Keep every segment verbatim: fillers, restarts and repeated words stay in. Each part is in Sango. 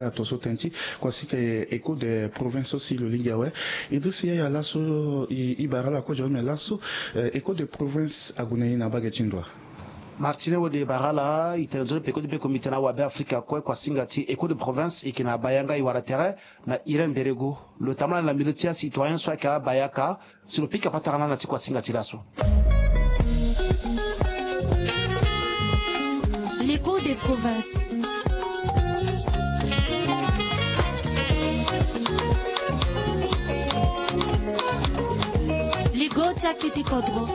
Ato so tënë ti kuasinga ti écho de province so si lo lingbi awe. Idriss Yaya, laso i bara ala kozo, me laso écho de province ague na ye na mbage ti ndo? Martine Wode, e bara ala. I tene nzoni peko ti be komite na awabe Afrika kue. Kuasinga ti écho de province e yeke na Bayanga, e wara tere na Irène Mberego. Lo tambula na mbilo ti acitoyen so ayeke abayaka si lo pika patara na ala na ti kuasinga ti laso. L'écho des provinces. Ligo ti akete kodro.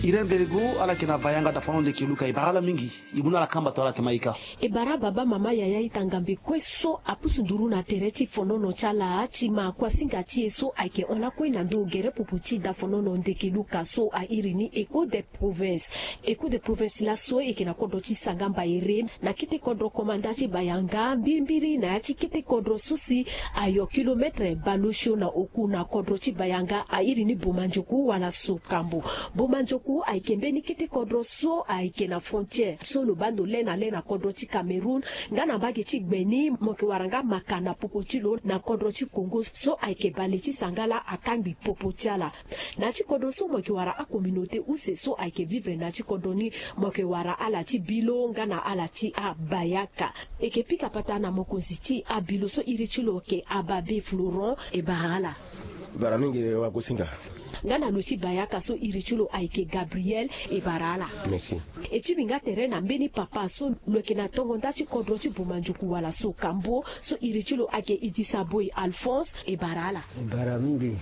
Irène Mberego, ala yeke na Bayanga, dafono ndeke luka, e bara ala mingi. E mu na ala kamba to ala yeke ma ika. E bara baba, mama, yaya, ita, ngambe kue so apusu nduru na tere ti fonono ti ala ti ma kuasinga ti e so ayeke hon lakue na ndo gere pupu ti dafonono ndeke luka so a iri ni écho de province. Écho de province laso e yeke na kodro ti Sangamba Ere, na kete kodro komanda ti Bayanga, mbirimbiri na ya ti kete kodro so si ayo kilometre bale osio na oku na kodro ti Bayanga, a iri ni Bomanjoku wala Sokambo. Bomanjoku ayeke mbeni kete kodro so ayeke na frontière so lo baa ndo le na le na kodro ti Cameroun, nga na mbage ti gbe ni mo yeke wara nga maka na popo ti lo na kodro ti Congo so ayeke bale ti sangala akangbi popo ti ala. Na ya ti kodro so mo yeke wara acommunauté use so ayeke vivre na ya ti kodro ni, mo yeke wara ala ti Bilo nga na ala ti aBayaka. E yeke pika patara na mokonzi ti aBilo so iri ti lo yeke Ababe Florent, e bara ala. Bara mingi, wa kuasinga. Nga na lo ti Bayaka so iri ti lo ayeke Gabriel, e bara ala. Merci. E tingbi nga tere na mbeni papa so lo yeke na tongo nda ti kodro ti Bomanjoku wala Sokambo so iri ti lo ayeke Idisa Boy Alphonse, e bara ala. Bara mingi.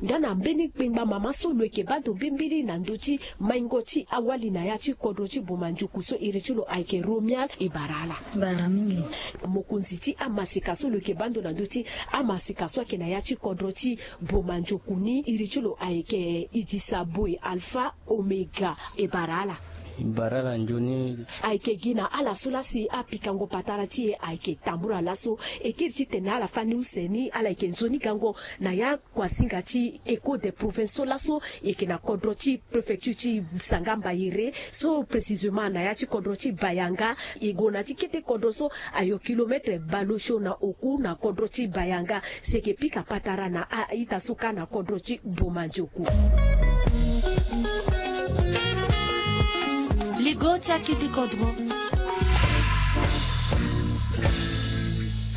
Nga na mbeni kpengba mama so lo yeke baa ndo mbirimbiri na ndö ti maingo ti awali na ya ti kodro ti Bomanjoku so iri ti lo ayeke Romial, e bara ala. Bara mingi. Mokonzi ti amaseka so lo yeke baa ndo na ndö ti amaseka so ayeke na ya ti kodro ti Bomanjoku ni, iri ti lo ayeke Idisa Boy Alpha Omega, e bara ala. Bara ala nzoni. Ayeke gi na ala so laa si apikango patara ti e ayeke tambula laso. E kiri titene ala fani use ni, ala yeke nzoni gango na ya kuasinga ti écho des provinces so laso e yeke na kodro ti préfecture ti Sangamba Ere, so précisément na ya ti kodro ti Bayanga. E gue na ti kete kodro so ayo kilometre bale osio na oku na kodro ti Bayanga. Si e yeke pika patara na a-ita so kâ na kodro ti Bomanjoku. Ligo ti akete kodro.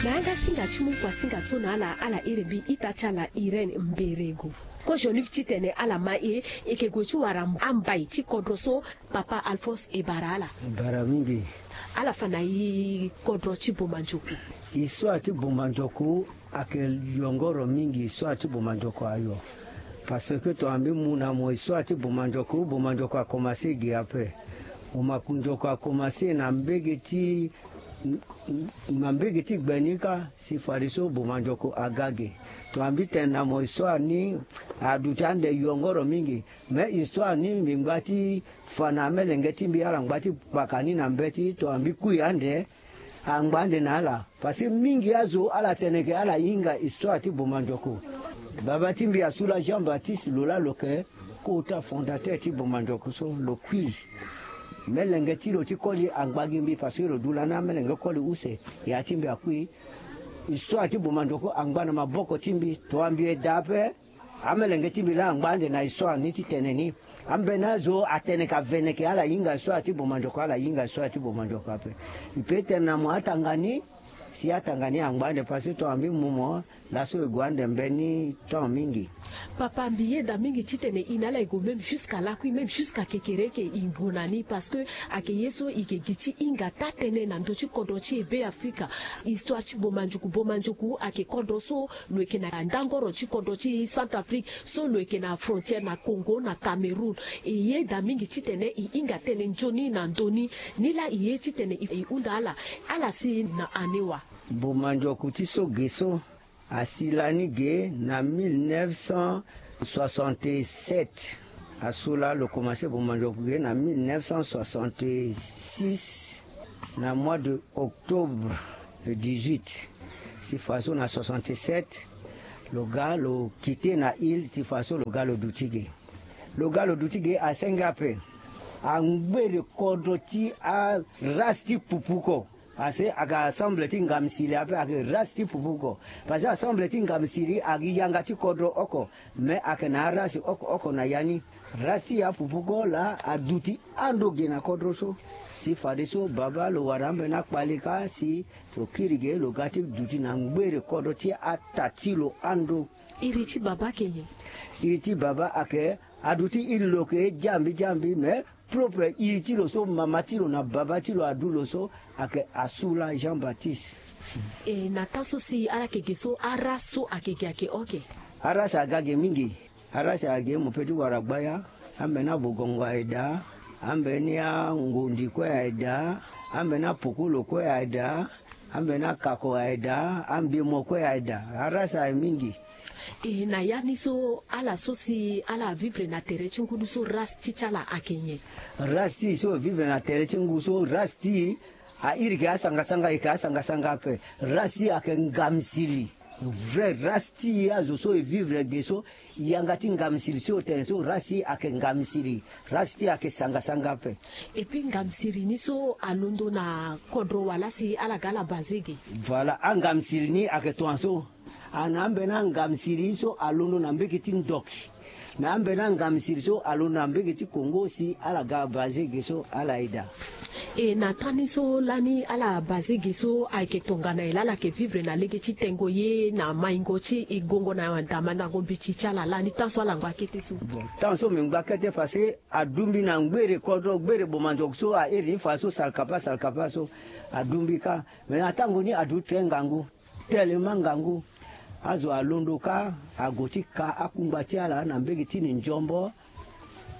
Na yanga singa ti mu kuasinga so na ala, ala iri mbi ita ti ala Irène Mberego. Kozoni titene ala ma e, e yeke gue ti wara ambai ti kodro so, papa Alphonse, e bara ala. Bara mingi. Ala fa na e kodro ti Bomanjoku? Histoire ti Bomanjoku ayeke yongoro mingi, histoire ti Bomanjoku ayo. Parce que tongana mbi mu na mo histoire ti Bomanjoku, Bomanjoku akomanse ge ape. Bomanjoku akomanse na mbege ti, na mbege ti gbe ni kâ, si fadeso Bomanjoku aga ge. Tongana mbi tene na mo histoire ni, aduti ande yongoro mingi. Mais histoire ni mbi ngba ti fa na amelenge ti mbi, ala ngba ti paka ni na mbeti, tongana mbi kui ande, angba ande na ala. Parce que mingi azo ala tene ke ala hinga histoire ti Bomanjoku. Baba ti mbi asula Jean Baptiste, lo laa lo yeke kota fondateur ti Bomanjoku so, lo kui. Melenge ti lo ti koli angba gi mbi, parce que lo du lani amelenge koli use, ya ti mbi akui. Histoire ti Bomanjoku angba na maboko ti mbi, tongana mbi eda ape, amelenge ti mbi laa angba ande na histoire ni ti tene ni. Ambeni azo atene ka vene ke ala hinga histoire ti Bomanjoku, ala hinga histoire ti Bomanjoku ape. Mbi pe tene na mo atanga ni, si atanga ni angba ande, parce que tongana mbi mu mo, laso e gue ande mbeni temps mingi. Papa, mbi yeda mingi titene e na ala e gue même jusqu'à lakui, même jusqu'à kekereke e gue na ni, parce que ayeke ye so e yeke gi ti hinga taa tënë na ndö ti kodro ti e Be Afrika. Histoire ti Bomanjoku, Bomanjoku ayeke kodro so lo yeke na ndangoro ti kodro ti Centrafrique, so lo yeke na frontière na Congo na Cameroun. E yeda mingi titene e hinga tënë nzoni na ndö ni. Nilaa e ye titene e hunda ala, ala si na ane wa? Bomanjoku ti so ge so, asi lani ge na mille neuf cent soixante-sept. Aso laa lo komanse Bomanjoku ge na mille neuf cent soixante-six, na mois de octobre le dix-huit. Si faso na soixante-sept, Lo ga lo kite na ile ti fa so lo ga lo duti ge. Lo ga lo duti ge asenge ape. Angbere kodro ti arace ti pupu oko. Ase ayeke asemble ti ngamsiri ape, ayeke race ti pupu oko. Parce que asemble ti ngamsiri ayeke yanga ti kodro oko. Me ayeke na arace oko oko na ya ni. Race ti apupu ko laa aduti ando ge na kodro so. Si fadeso babâ lo wara ambeni akpale kâ si lo kiri ge lo ga ti duti na ngbere kodro ti ata ti lo ando. Iri ti babâ ayeke nyen? Iri ti babâ ayeke aduti iri lo yeke jambi jambi, me propre iri ti lo so mama ti lo na babâ ti lo adu lo so ayeke Asula Jean Baptiste. E na tâ so si ala yeke ge so arace so ayeke ge ayeke oke? Arace aga ge mingi. Arace aga ge mo pe ti wara gbaya. Ambeni abogongo aye daa. Ambeni angondi kue aye daa. Ambeni apokolo kue aye daa. Ambeni akako aye daa. Ambimo kue aye daa. Arace aye mingi. E na ya ni so ala so si ala vivre na tere ti ngu ni so race ti ti ala ayeke nyen? Race ti e so e vivre na tere ti ngu so race ti e a iri ke asanga sanga e ke asanga sanga ape. Race ti e ayeke ngamsiri. Vrai race ti e azo so e vivre ge so yanga ti ngamsiri so e tene so race ti e ayeke ngamsiri. Race ti e ayeke sanga sanga ape. Et puis ngamsiri ni so alondo na kodro wala si ala ga ala baze ge? Voilà, angamsiri ni ayeke tongaso. Ana ambeni angamsiri so alondo na mbege ti ndoki. Me ambeni angamsiri so alondo na mbege ti Congo si ala ga baze ge so ala yeda. E na tani so lani ala baze ge so ayeke tongana e laa ala yeke vivre na lege ti tengo ye na maingo ti e gongo na damandango mbeti ti ala lani tan so ala ngba kete so. Bon, tan so mbi ngba kete parce que adumbi na ngbere kodro ngbere bomanzogo so a iri ni fa so salkapa salkapa so adumbi kâ. Me na tango ni adu très ngangu. Tellement ngangu. Azo alondo kâ ague ti ka akungba ti ala na mbege ti Lindiombo.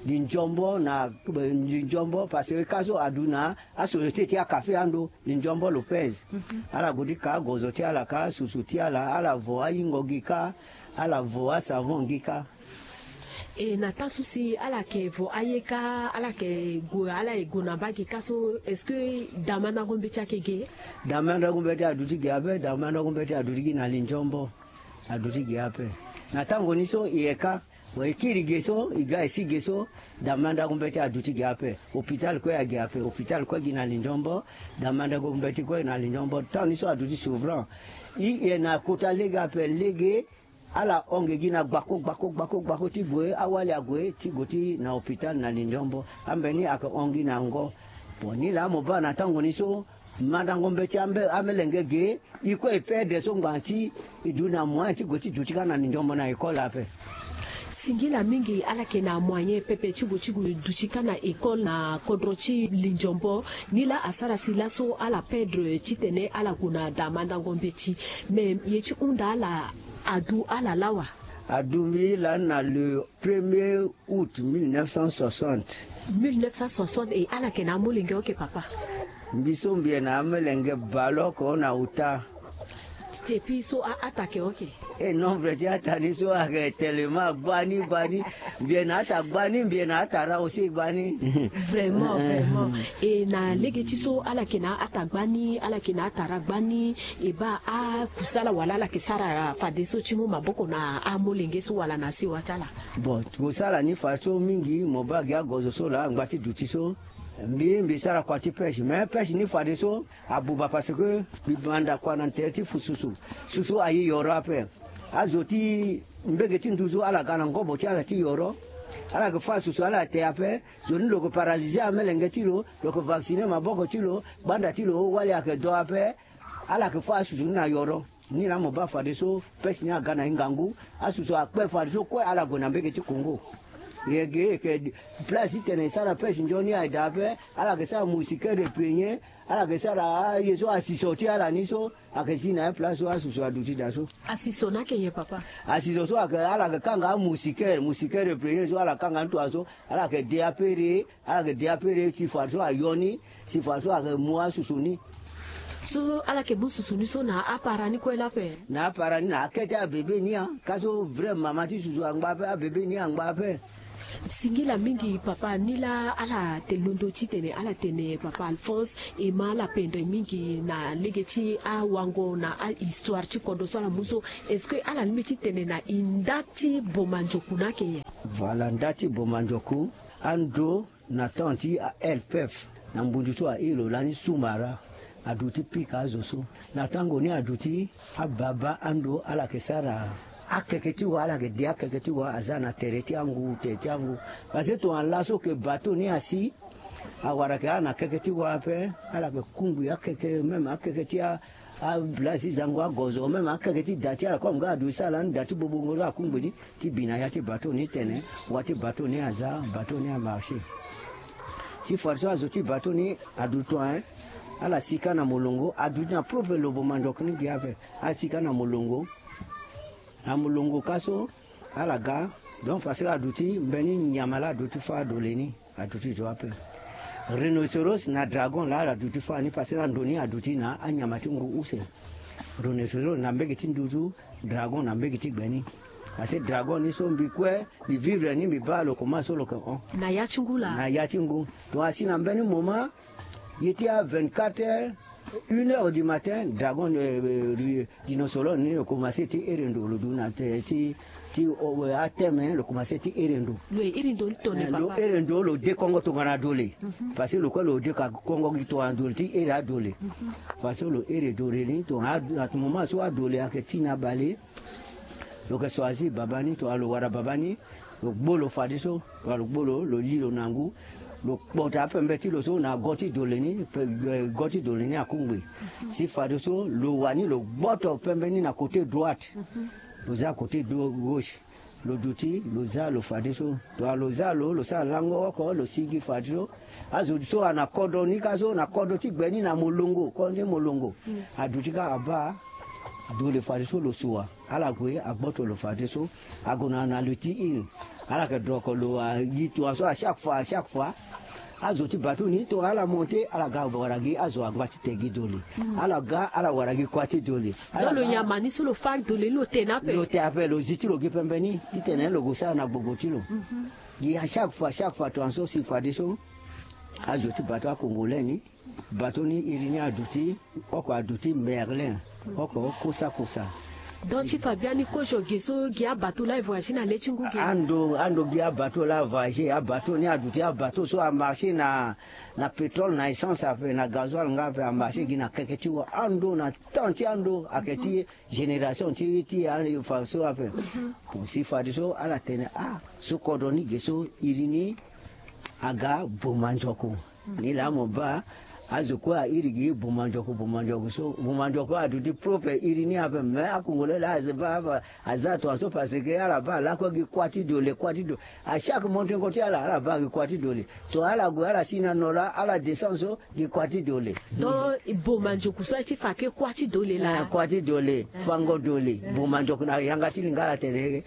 Lindiombo na Lindiombo parce que kâ so adu na asociété ti akafe ando Lindiombo Lopez. Ala gue ti ka agozo ti ala kâ susu ti ala ala vo ayingo gi kâ. Ala vo asavon gi kâ. E na tâ so si ala yeke vo aye kâ ala yeke gue ala ye gue na mbage kâ so est-ce que damandango mbeti ayeke ge? Damandango mbeti aduti ge ape. Damandango mbeti aduti gi na Lindiombo. Aduti ge ape. Na tango ni so e ye kâ e kiri ge so e ga e si ge so. Damandango mbeti aduti ge ape. Hôpital kue age ape. Hôpital kue gi na Lindiombo. Damandango mbeti kue na Lindiombo tan ni so aduti souvran. E ye na kota lege ape lege. Ala hon ge gi na gbako gbako gbako gbako ti gue awali ague ti gue ti na hôpital na Lindiombo. Ambeni ayeke hon gi na ngo. Bon ni laa mo baa na tango ni so mandango mbeti ambe amelenge ge. E kue e perdre so ngbanga ti e du na moyen ti gue ti duti kâ na Lindiombo na école ape. Singila mingi ala yeke na moyen pepe ti gue ti gue duti kâ na école na kodro ti Lindiombo. Ni laa asara si laso ala perdre titene ala gue na damandango mbeti. Me ye ti hunda ala adu ala lawa. Adu mbi lani na le premier août mille neuf cent soixante. Mille neuf cent soixante e ala yeke na amolenge oke papa? Mbi so mbi yeke na amolenge baleoko na ota. Depuis so a ata yeke oke? E nombre ti ata ni so ayeke tellement gbani gbani. Mbi yeke na ata gbani mbi yeke na ata ra aussi gbani. Vraiment vraiment. E na lege ti so ala yeke na ata gbani ala yeke na ata ra gbani. E baa akusala wala ala yeke sara fadeso ti mu maboko na amolenge so wala na sewa ti ala? Bon, kosala ni fadeso mingi mo baa gi agozo so laa angba ti duti so. Mbi mbi sara kua ti pêche mais pêche ni fadeso abuba parce que mbi manda kua na tere ti fu susu. Susu aye yoro ape. Azo ti mbege ti nduzu ala ga na ngobo ti ala ti yoro. Ala yeke fâ susu ala te ape. Zo ni lo yeke paralyser amelenge ti lo. Lo yeke vacciner maboko ti lo. Gbanda ti lo wali ayeke do ape. Ala yeke fâ asusu ni na yoro. Ni laa mo baa fadeso pêche ni aga na e ngangu. Asusu akpe fadeso kue ala gue na mbege ti Congo. E yeke e yeke place ti tene e sara pêche nzoni aye daa ape. Ala yeke sara moustiquaire de premier. Ala yeke sara aye so asiso ti ala ni so. Ayeke zi na ya place so asusu aduti daa so. Asiso ni ayeke nyen papa? Asiso so ayeke ala yeke kanga amoustiquaire moustiquaire de premier so ala kanga ni tongaso. Ala yeke de apere. Ala yeke de apere si fadeso ayo ni. Si fadeso ayeke mu asusu ni. So ala yeke mu susu ni so na apara ni kue lape? Na apara ni na akete abebe ni ya. Ka so vrai mama ti susu angba ape abebe ni angba ape. Singila mingi papa, ni laa ala te londo titene ala tene papa Alphonse e ma ala pendre mingi na lege ti awango na ahistoire ti kodro so ala mu so. Est-ce que ala lingbi titene na e nda ti Bomanjoku na ake nyen? Voilà, nda ti Bomanjoku, ando na temps ti a L P F, na ngbundu so aye lo lani Soumaré, aduti pika azo so. Na tango ni aduti, ababa ando ala yeke sara akeke ti wa, ala yeke de akeke ti wa, aza na tere ti angu, tere ti angu. Parce que tongana laso ke bateau ni asi, awara ke ala na keke ti wa ape, ala yeke kungbi akeke, même akeke ti a, ablasi zango agozo, même akeke ti da ti ala, comme nga aduti sara lani da ti bobongo so akungbi ni, ti bi na ya ti bateau ni tene, wa ti bateau ni aza, bateau ni amarché. Si fadeso azo ti bateau ni aduti, hein, ala si kâ na molongo, aduti na propre lo Bomanjoku ni gi ape, ala si kâ na molongo. Na molongo kâ so, ala ga, donc parce que aduti mbeni nyama laa aduti fâ dole ni, aduti zo ape. Rhinocéros na dragon laa ala duti fâ ni, parce que na ndo ni aduti na anyama ti ngu use. Rhinocéros na mbege ti nduzu, dragon na mbege ti gbe ni. Parce que dragon ni so mbi kue, mbi vivre ni, mbi baa lo koma so lo yeke hon. Na ya ti ngu laa. Na ya ti ngu. Donc asi na mbeni moment, ye ti a vingt-quatre heures, une heure du matin, dragon, euh, euh, rhinocéros ni lo commencé ti iri ndo, lo du na te, ti, ti, euh, ateme, lo commencé ti iri ndo. Lo iri ndo ni tongana, eh, lo papa, iri ndo, lo de kongo tongana dole. Mhm. Parce que lo kue lo de ka kongo gi tongana dole, ti iri adole. Mhm. Parce que lo iri dole ni tongana ad-, à ce moment so adole ayeke ti na bale. Lo yeke choisir baba ni, tongana lo wara baba ni, lo gbo lo fadeso, tongana lo gbo lo, lo li lo na ngu, lo kpota apembe ti lo so na go ti dole ni, pe-, eh, go ti dole ni akungbi. Si fadeso, lo wani lo gboto pembe ni na côté droite. Lo za côté dro-, gauche. Lo duti, lo za lo fadeso. Tongana lo za lo, lo sara lango oko, lo sigi fadeso. Azo so ana kodro ni kâ so, na kodro ti gbe ni na molongo, kodro ni molongo. Mm. Aduti kâ abaa dole fadeso lo sua. Ala gue agboto lo fadeso. Ague na, na lo ti iri. Ala yeke doko lo, a, gi tongaso à chaque fois, à chaque fois. Azo ti bateau ni tongana ala monté, ala ga wara gi azo agba ti te gi dole. Mm. Ala ga, ala wara gi kuâ ti dole. Donc lo nyama ni so lo fâ dole ni lo tene ape. Lo te ape, lo zi ti lo gi pembe ni. Titene lo gue sara na gbogbo ti lo. Mhm. Gi à chaque fois, chaque fois, tongaso si fadeso. Azo ti bateau a-Congolais ni. Bateau ni iri ni aduti, oko aduti Merlin, oko kosa kosa. Donc ti fa biani kozo ge so gi abateau laa e voyagé na le ti ngu ge. Ando, ando gi abateau laa e voyagé, abateau ni aduti abateau so amarché na, na pétrole, na essence ape, na gasoil nga ape, amarché gi na keke ti wa ando na temps ti ando ayeke ti génération ti, ti a, fa so ape. Mhm. Bon, si fadeso ala tene, ah, so kodro ni ge so iri ni aga Bomanjoku. Ni laa mo baa azo kue airi gi Bomanjoku, Bomanjoku so, Bomanjoku aduti propre iri ni ape, mais a-Congolais laa aza baa, aza tongaso parce que ala baa lakue gi kuâ ti dole, kuâ ti dole. À chaque monté ngo ti ala, ala baa gi kuâ ti dole. Tongana ala gue, ala si na no laa, ala descend so, gi kuâ ti dole. Donc Bomanjoku so aye ti fa ke kuâ ti dole laa. Eh, kuâ ti dole, eh, fango dole. Eh. Bomanjoku na yanga ti lingala atene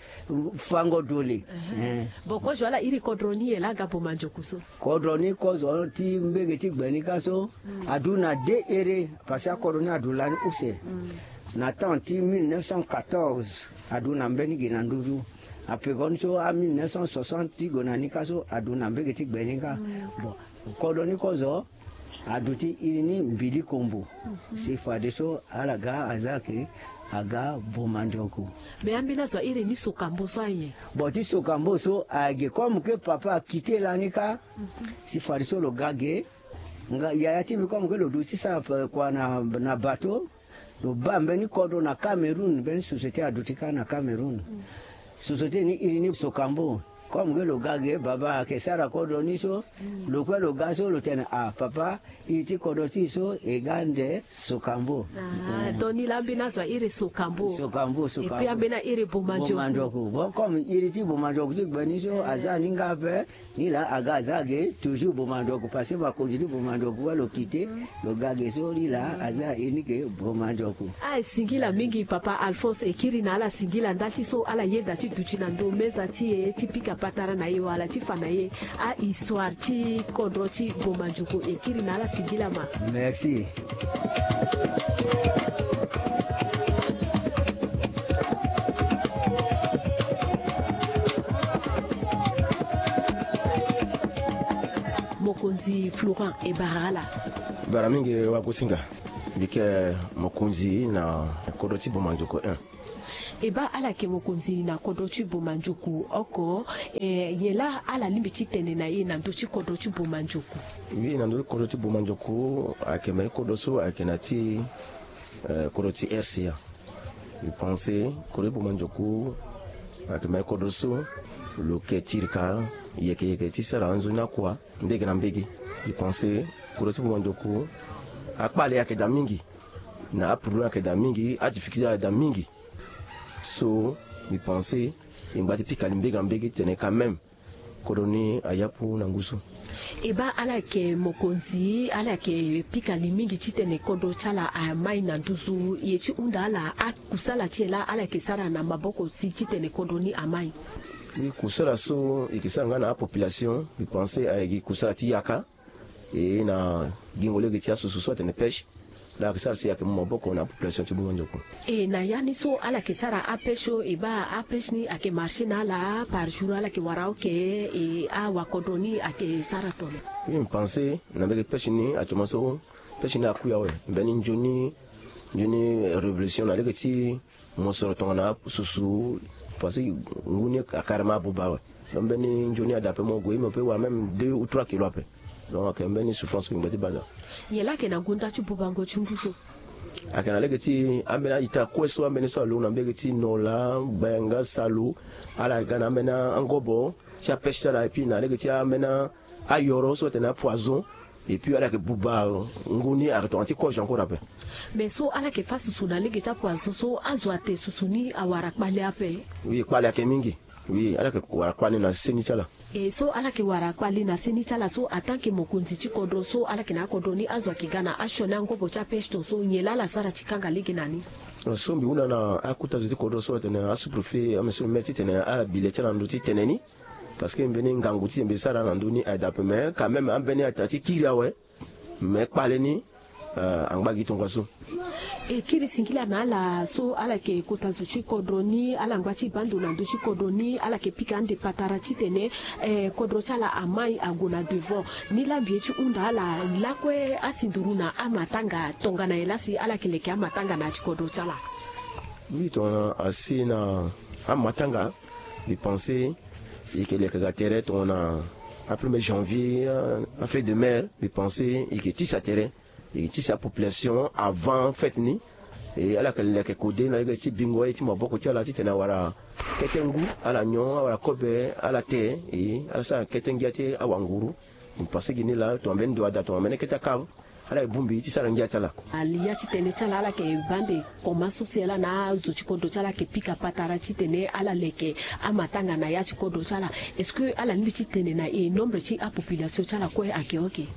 fango dole. Eh. Eh. Bon, kozo ala iri kodro ni ye laa aga Bomanjoku so. Kodro ni kozo ti mbege ti gbe ni kâ so, mm, adu na deux ere, parce que akodro ni adu lani use. Mm. Na temps ti mille neuf cent quatorze, adu na mbeni gi na nduzu. Apekoni so a mille neuf cent soixante ti gue na ni kâ so, adu na mbege ti gbe ni kâ. Mm. Bon, kodro ni kozo, aduti iri ni Mbili Kombo. Mhm. Si fadeso ala ga aza ke aga Bomanjoku. Mais ambeni azo airi ni Sokambo so aye. Bon, ti Sokambo so age comme ke papa akite lani kâ. Mhm. Si fadeso lo ga ge. Nga yaya ti mbi comme ke lo duti sara pe-, kua na, na bateau. Lo baa mbeni kodro na Cameroun, mbeni société aduti kâ na Cameroun. Mm. Société ni iri ni Sokambo. Comme ke lo ga ge, baba ayeke sara kodro ni so, mm, lo kue lo ga so lo tene, ah, papa, iri ti kodro ti e so e ga ande Sokambo. Ah, mm, donc ni laa ambeni azo airi Sokambo. Sokambo, Sokambo. Et puis ambeni airi Bomanjoku. Bomanjoku. Bon, comme iri ti Bomanjoku ti gbe ni so, eh, aza ni nga ape, ni laa aga aza ge toujours Bomanjoku, parce que makonzi ti Bomanjoku kue lo kite, lo ga ge so, ni laa aza iri ni ke Bomanjoku. Ah, e singila mingi papa Alphonse, e kiri na ala singila ndali so ala yeda ti duti na ndo meza ti e ti pika patara na e wala ti fa na e ahistoire ti kodro ti Bomanjoku. E kiri na ala singila ma. Merci. Mokonzi Florent, e bara ala. Bara mingi wagosinga. Mbi yeke mokonzi na kodro ti Bomandioko un. E baa, ala yeke mokonzi na kodro ti Bomandioko oko. Eh, nyen laa ala lingbi ti tene na e na ndö ti kodro ti Bomandioko? Oui, na ndö ti kodro ti Bomandioko ayeke mbeni kodro so ayeke na ti, eh, kodro ti R C A. Mbi pense kodro ti Bomandioko ayeke mbeni kodro so lo yeke tirika yeke yeke ti sara anzoni akua mbege na mbege. Mbi pense kodro ti Bomandioko, akpale ayeke daa mingi, na aproblème ayeke daa mingi, adifficulté ayeke daa mingi. So mbi pense e ngba ti pika li mbege na mbege titene quand même kodro ni ayapu na ngu so. E baa, ala yeke mokonzi, ala yeke pika li mingi titene kodro ti ala amai na nduzu. E ye ti hunda ala, akusala ti e laa ala yeke sara na maboko si titene kodro ni amai? Oui, kusala so e yeke sara nga na apopulation, mbi pense ayeke gi kusala ti yaka. E na gingo lege ti asusu so atene pêche. Laa ayeke sara si ayeke mu maboko na apopulation ti Bomandioko. E na ya ni so ala yeke sara apêche so, e baa, apêche ni ayeke marché na ala par jour, ala yeke wara oke, e awakodro ni ayeke sara tongana? Oui, mbi pense na mbege pêche ni actuellement so, pêche ni akui awe. Mbeni nzoni, nzoni révolution na lege ti mosoro tongana susu, parce que ngu ni carrément abuba awe. Donc mbeni nzoni ada ape, mo gue mo peut wara même deux ou trois kilos ape. Donc ayeke mbeni souffrance kue ngba ti bada. Nyen laa ayeke na gonda ti bubango ti ngu so? Ayeke na lege ti ambeni a-ita kue so, ambeni so alondo na mbege ti Nola, Bayanga, Salu, ala ga na ambeni angobo ti apêche ti ala, et puis na lege ti ambeni ayoro so atene apoison. Et puis ala yeke buba ngu ni ayeke tongana ti kozo encore ape. Mais so ala yeke fâ susu na lege ti apoison so, azo ate susu ni awara kpale ape? Oui, kpale ayeke mingi. Oui, ala yeke wara kpale na seni ti ala. E so ala yeke wara kpale na seni ti ala so, en tant que mokonzi ti kodro so, ala yeke na akodro ni, azo ayeke ga na asioni angobo ti apêche tongaso, nyen laa ala sara ti kanga lege na ni? So mbi hunda na akota zo ti kodro so atene asous-préfet, amesoro maire titene ala bi le ti ala na ndö ti tene ni. Parce que mbeni ngangu ti mbi sara na ndö ni aye daa ape, mais quand même ambeni ata ti kiri awe. Mais kpale ni, euh, angba gi tongaso. E kiri singila na ala so ala yeke kota zo ti kodro ni, ala ngba ti baa ndo na ndö ti kodro ni, ala yeke pika ande patara titene, eh, kodro ti ala amai ague na devant. Ni laa mbi ye ti hunda ala lakue asi nduru na amatanga tongana nyen laa si ala yeke leke amatanga na ya ti kodro ti ala? Oui, tongana asi na amatanga, mbi pense e yeke leke ga tere tongana a premier janvier, euh, a fête de mère, mbi pense e yeke tisa tere, e yeke tisa apopulation avant fête ni. E ala yeke leke kode na lege ti bingo aye ti maboko ti ala titene awara kete ngu, ala nyon, awara kobe, ala te, e ala sara kete ngia ti awanguru. Mbi pense gi ni laa tongana mbeni ndo ada, tongana mbeni kete akave, ala yeke bongbi ti sara ngia ti ala. Ala ya ti tene ti ala, ala yeke baa ande komanso si ala na azo ti kodro ti ala ayeke pika patara titene ala leke amatanga na ya ti kodro ti ala. Est-ce que ala lingbi ti tene na e nombre ti apopulation ti ala kue ayeke oke?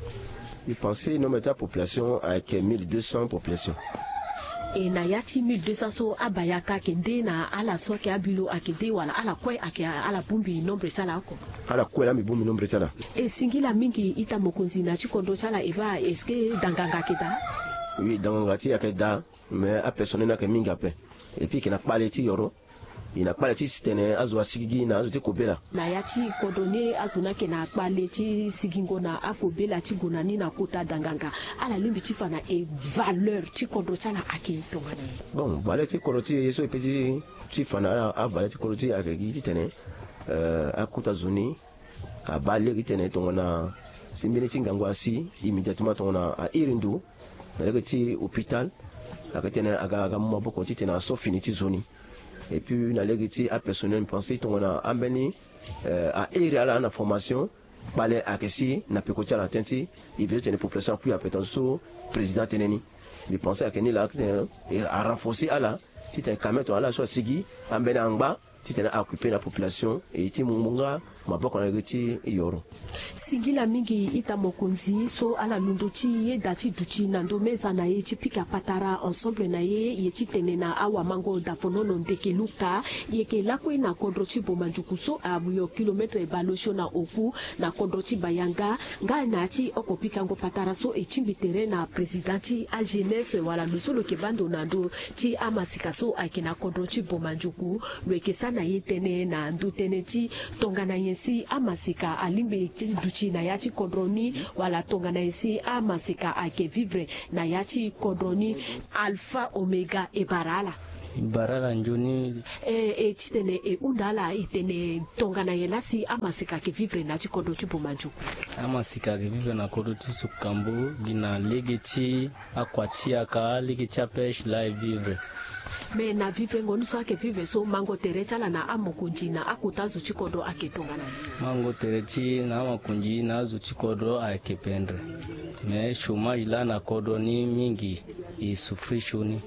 Mbi pense nombre ti apopulation ayeke mille deux cents population. E na ya ti mille deux cents so, abayaka ayeke nde na ala so ayeke abi lo ayeke nde, wala ala kue ayeke ala bongbi nombre ti ala oko? Ala kue laa mbi bongbi nombre ti ala. E singila mingi ita mokonzi na ya ti kodro ti ala, e baa, est-ce que danganga ayeke daa? Oui, danganga ti e ayeke daa, mais apersonnel ni ayeke mingi ape. Et puis e yeke na kpale ti yoro, e na kpale ti si tene azo asigigi na azo ti kobela. Na ya ti kodro ni azo ni ayeke na kpale ti sigingo na akobela ti gue na ni na kota danganga. Ala lingbi ti fa na e valeur ti kodro ti ala ayeke tongana nyen? Bon, valeur ti kodro ti e so e pe ti, ti fa na ala, avaleur ti kodro ti e ayeke gi titene, euh, akota zo ni abaa lege titene tongana si mbeni ti ngangu asi, immédiatement tongana a iri ndo na lege ti hôpital, ayeke titene aga, aga mu maboko titene aso fini ti zo ni. Et puis na lege ti apersonnel, mbi pense tongana ambeni, euh, a iri ala na formation, kpale ayeke si na peko ti ala, tënë ti e bezo titene population akui ape, tongana so président atene ni. Mbi pense ayeke ni laa, titene, e, arenforcer ala titene quand même tongana ala so asigi, ambeni angba titene a occuper na population, e ti mu nga maboko na lege ti yoro. Singila mingi ita mokonzi so ala londo ti yeda ti duti na ndo meza na e ti pika patara ensemble na e, e ye ti tene na awamango Dafonono Ndeke Luka. E yeke lakue na kodro ti Bomandioko so awe kilomètre bale osio na oku, na kodro ti Bayanga. Nga na ya ti oko pikango patara so, e tingbi tere na président ti ajeunesse wala lo so lo yeke baa ndo na ndö ti amasika so ayeke na kodro ti Bomandioko. Lo yeke sara Na ye tene na ndo tënë ti tongana nyen si amaseka alingbi ti duti na ya ti kodro ni, wala tongana nyen si amaseka ayeke vivre na ya ti kodro ni. Alpha Omega, e bara ala. E bara ala nzoni. E, e titene e hunda ala, e tene tongana nyen laa si amaseka ayeke vivre na ya ti kodro ti Boma Ndioku? Amaseka ayeke vivre na kodro ti Sukambo gi na lege ti akua ti yaka, lege ti apêche laa e vivre. Me na vivrengo ni so ayeke vivre so, mango tere ti ala na amokonzi na akota zo ti kodro ayeke tongana nyen? Mango tere ti na amokonzi na azo ti kodro ayeke pendre. Me chômage laa na kodro ni mingi, e souffrir sioni.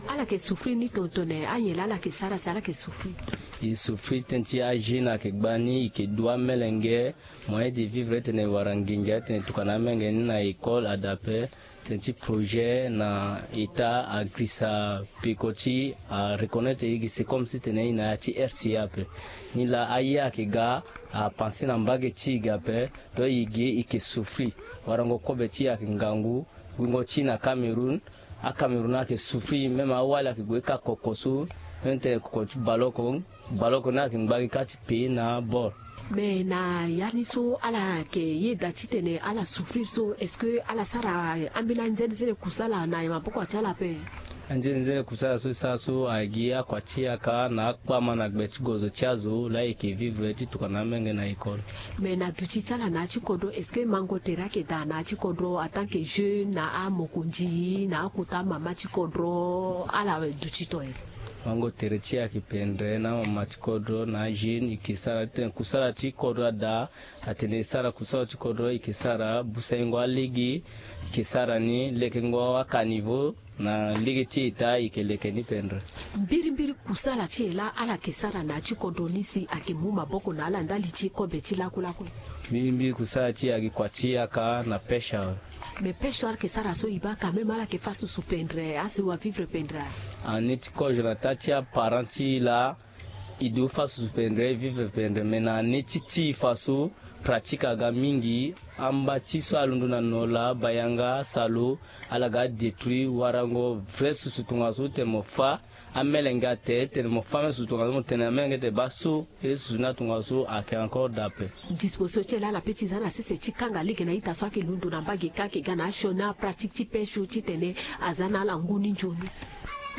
Ala yeke souffrir ni tongana nyen laa ala yeke sara si ala yeke souffrir? E souffrir tënë ti ajeune ayeke gbani, e yeke du amelenge moyen de vivre, titene e wara nginza titene e tokua na amenge ni na école adapté. Tënë ti projet na état agrisa peko ti areconnaître e gi, c'est comme si tene e na ya ti R C A ape. Ni laa aye ayeke ga, apenser na mbage ti e ga ape. Donc e gi e yeke souffrir. Warango kobe ti e ayeke ngangu. Gungo ti e na Cameroun, aCameroun ayeke souffrir, même awali ayeke gue ka koko so, même tene koko ti baloko, baloko ni ayeke ngba gi ka ti payer na bord. Me na ya ni so ala yeke yeda titene ala souffrir so, est-ce que ala sara ambeni anzenezene kusala na maboko ti ala ape? Anzenezene kusala so e sara so agi akua ti yaka na akpama na gbe ti gozo ti azo laa e yeke vivre ti tokua na amenge na école. Me na duti ti ala na ya ti kodro, est-ce que mango tere ayeke daa na ya ti kodro en tant que jeune, na amokonzi, na akota mama ti kodro, ala duti tongayo? Mango tere ti e ayeke pendre na amama ti kodro, na ajeune, e yeke sara titene kusala ti kodro adaa. Atene e sara kusala ti kodro, e yeke sara busaingo alege, e yeke sara ni lekengo acaniveau na lege ti état, e yeke leke ni pendre. Mbirimbiri kusala ti e laa ala yeke sara na ya ti kodro ni si ayeke mu maboko na ala ndali ti kobe ti lakulaku? Mbirimbiri kusala ti e ayeke kua ti yaka na pêche awe. Me pêche so ala yeke sara so e baa quand même ala yeke fâ susu pendre, asi wa vivre pendre? Ani ti kozo na taa ti aparent ti e laa, e du fâ susu pendre, e vivre pendre, me na ni ti ti e fa so pratique aga mingi. Amba ti so alondo na nola, bayanga, salo, ala ga détruire. Warango vrai susu tongaso tene mo fâ amelenge ate, tene mo fâ même susu tongaso, mo tene amelenge tene baa so, e susu ni atongaso ayeke encore daa ape. Disposition ti e laa ala pe ti za na sese ti kanga lege na ita so ayeke londo na mbage ka ayeke ga na asioni apratique ti pêche so titene aza na ala ngu ni nzoni?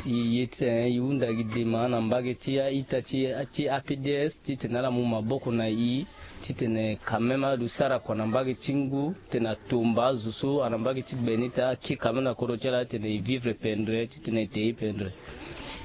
E ye titene e hunda gi dema na mbage ti a-ita ti, ti A P D S titene ala mu maboko na e, titene quand même ala du sara kua na mbage ti ngu, titene atomba azo so ana mbage ti gbe ni, titene akiri quand même na kodro ti ala titene e vivre pendre, titene e te e pendre.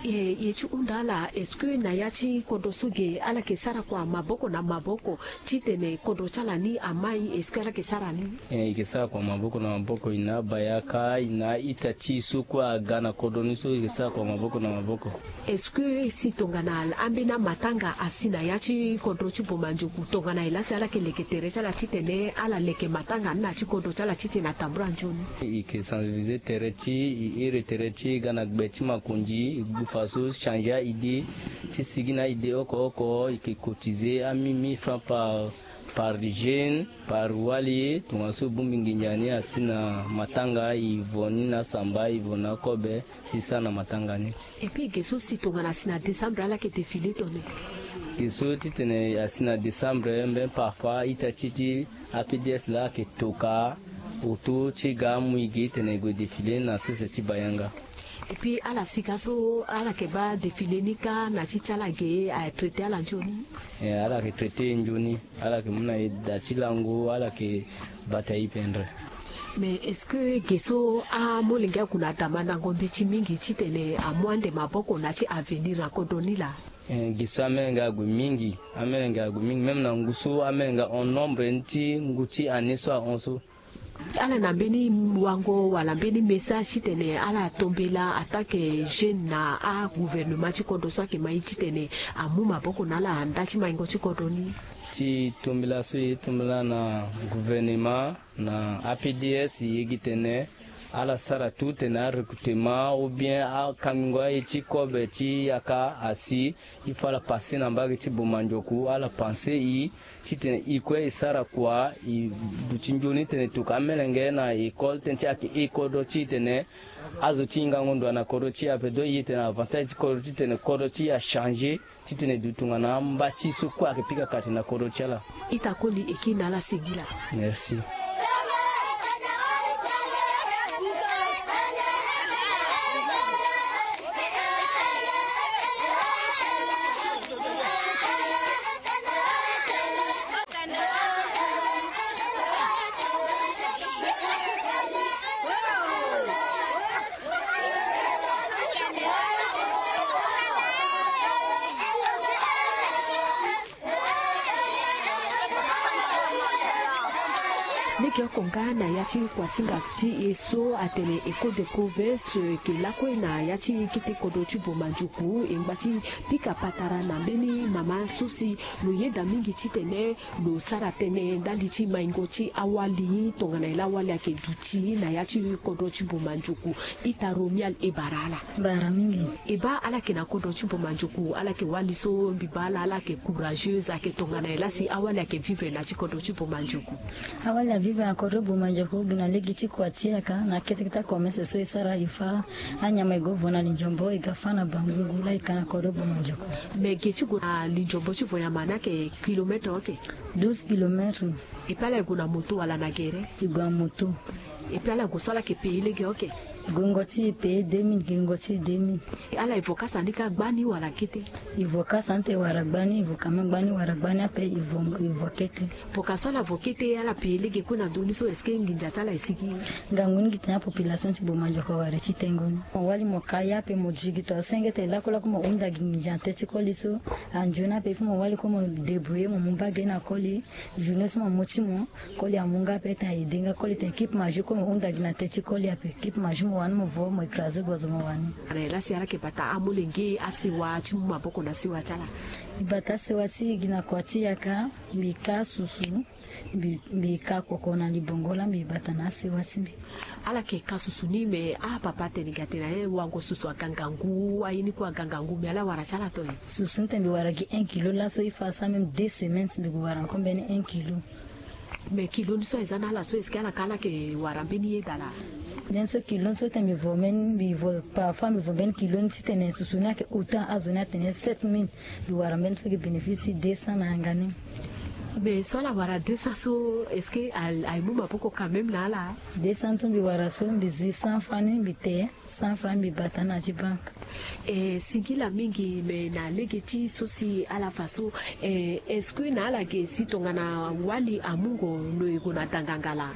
E, e ti hunda ala, est-ce que na ya ti kodro so ge ala yeke sara kua maboko na maboko titene kodro ti ala ni amai, est-ce que ala yeke sara ni? E, e yeke sara kua maboko na maboko, e na abayaka, e na a-ita ti e so kue aga na kodro ni so, e yeke sara kua maboko na maboko. Est-ce que si tongana ambeni amatanga asi na ya ti kodro ti Boma Ndioku, tongana nyen laa si ala yeke leke tere ti ala titene ala leke matanga ni na ya ti kodro ti ala titene atambula nzoni? E yeke sensibiliser tere ti e, e iri tere ti e ga na gbe ti makonzi, e gbu fa so changer a-idée ti sigi na a-idée oko oko, e yeke cotiser a mille, mille francs par, par jeune, par wali, tongaso e bongbi nginza ni asi na matanga, e vo ni na asamba, e vo na akobe, si e sara na matanga ni. Et puis ge so si tongana asi na décembre ala yeke défilé tongana nyen? Ge so titene asi na décembre, mbeni parfois ita ti e ti A P D S laa ayeke toka autour ti e ga amu e ge titene e gue défilé na sese ti Bayanga. Et puis ala si ka so ala yeke baa défilé ni kâ na ti ti ala ge, atraité ala nzoni? Eh, ala yeke traité e nzoni. Ala yeke mu na e da ti lango, ala yeke bata e pendre. Mais est-ce que ge so amolenge ague na damandango mbeti mingi titene amu ande maboko na ya ti avenir na kodro ni laa? Eh, ge so amelenge ague mingi, amelenge ague mingi, même na ngu so amelenge ahon nombre ni ti ngu ti année so ahon so. Ala na mbeni wango wala mbeni message titene ala tombela en tant que jeune na agouvernement ti kodro so ayeke ma e titene amu maboko na ala nda ti maingo ti kodro ni? Ti tombela so e tombela na gouvernement na A P D S, e gi tene ala sara tout tene arecrutement ou bien akangingo aye ti kobe ti yaka asi. Il faut ala passer na mbage ti Boma Ndioku, ala pensé e titene e kue e sara kua, e duti nzoni titene e toka amelenge na école, tënë ti e ayeke e kodro ti e titene azo ti e hingango ndo na kodro ti e ape. Donc e tene avantage ti kodro ti e titene kodro ti e achanger. Titene du tongana amba ti so kue ayeke pika kate na kodro ti ala. Ita koli e kiri na ala singila. Merci. Lege oko nga na ya ti kuasinga ti e so atene Ecole de Province, e yeke lakue na ya ti kete kodro ti Boma Ndioku, e ngba ti pika patara na mbeni mama so si lo yeda mingi titene lo sara tënë ndali ti maingo ti awali tongana e laa awali ayeke duti na ya ti kodro ti Boma Ndioku. Ita Romial, e bara ala. Bara mingi. E baa ala yeke na kodro ti Boma Ndioku, ala yeke wali so mbi baa ala, ala yeke courageuse, ayeke tongana e laa si awali ayeke vivre na ya ti kodro ti Boma Ndioku. Awali avivre na kodro Boma Ndioku gi na lege ti kua ti yaka na kete kete commerce so e sara, e fâ anyama, e gue vo na linzombo, e ga fâ na bangungu laa e ka na kodro Boma Ndioku. Me ge ti gue na linzombo ti vo nyama ni ayeke kilomètre oke? Douze kilomètres. E pe ala e gue na moto wala na gere? E gue na moto. E pe ala e gue so ala yeke payer lege oke? Gongo ti e payer deux mille, gongo ti e deux mille. Ala e vo kasa ni kâ gbani wala kete? E vo kasa ni te wala gbani, e vo kama gbani wala gbani ape, e vo, e vo kete. Poka so ala vo kete, ala payer lege kue na ndö ni so, est-ce que nginza ti ala e sigi? Ngangu ni gi tene apopulation ti Boma Ndioku awara ti tengo ni. Mo wali mo ka ye ape, mo duti gi to asenge te lakue lakue mo hunda gi nginza na teti koli so. Anzoni ape il faut mo wali kue mo débrouiller, mo mu mbage na koli. Journée so mo mu ti mo, koli amu nga ape, e tene a aidé nga koli, tene kipe magie kue mo hunda gi na teti koli ape. Kipe magie mo wani mo vo, mo écraser gozo mo wani. Ala e laa si ala yeke bata amolenge, asewa ti mu maboko na sewa ti ala. Mbi bata asewa ti e gi na kua ti yaka, mbi ka susu, mbi, mbi ka koko na libongo laa mbi bata na asewa ti mbi. Ala yeke ka susu ni, me apapa atene ga atene aye wango susu aga ngangu, aye ni kue aga ngangu, me ala wara ti ala to nyen? Susu ni tene mbi wara gi un kilo laso, il faut asara même deux semaines mbi gue wara encore mbeni un kilo. Me kilo ni so aye za na ala so, est-ce que ala ka ala yeke wara mbeni yeda laa? Mbeni so kilo ni so tene mbi vo mbeni, mbi vo, parfois mbi vo mbeni kilo ni titene susu ni ayeke hauteur azo ni atene sept mille. Mbi wara mbeni so gi bénéfice ti deux cents na yanga ni. Mais so ala wara deux cents so, est-ce que al-, aye mu maboko quand même na ala? Deux cents so mbi wara so, mbi zi cent francs ni mbi te, cent francs mbi bata na ti banque. Eh, singila mingi, mais na lege ti so si ala fa so, eh, est-ce que na ala ge si tongana wali amungo lo e gue na danganga laa?